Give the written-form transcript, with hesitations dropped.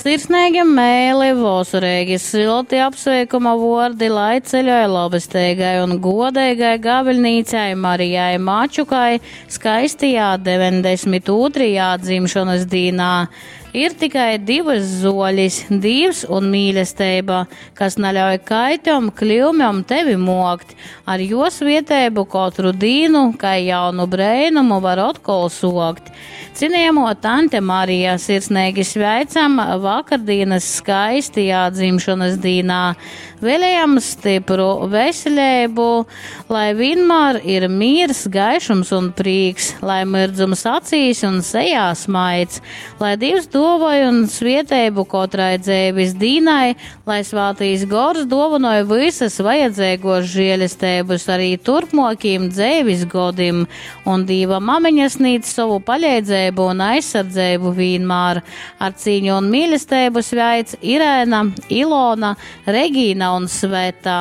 Sirsneigi meili, vosoreigi sylti apsveikuma vuordi lai ceļoj labesteigai un godeigai gaviļnīcei Marijai Mačukai skaistajā 92. dzimšonas dīnā. Ir tikai divas zoļis - Dīvs un mīlesteiba, kas naļauj kaitom, kļūmēm tevi mokt. Ar jo svieteibu kotru dīnu, kai jaunu breinumu var otkol sokt. Cienījamo tante Marija, sirsnīgi sveicam vakardienas skaistajā dzimšanas dīnā. Vēlējam stipru veselību, lai vienmēr ir miers, gaišums un prīks, lai mirdzums acīs un sejā smaids, lai Dievs dovoj un svieteibu kotrai dzēvis dīnai, lai svātīs gors dovanoja visas vajadzīgos žēlestības arī turpmokiem dzēvis godim, un Dīva mamiņa sniedz savu palīdzību un aizsardzību vienmēr. Ar cīņu un mīlestību sveic Irēna, Ilona, Regīna un Sveta.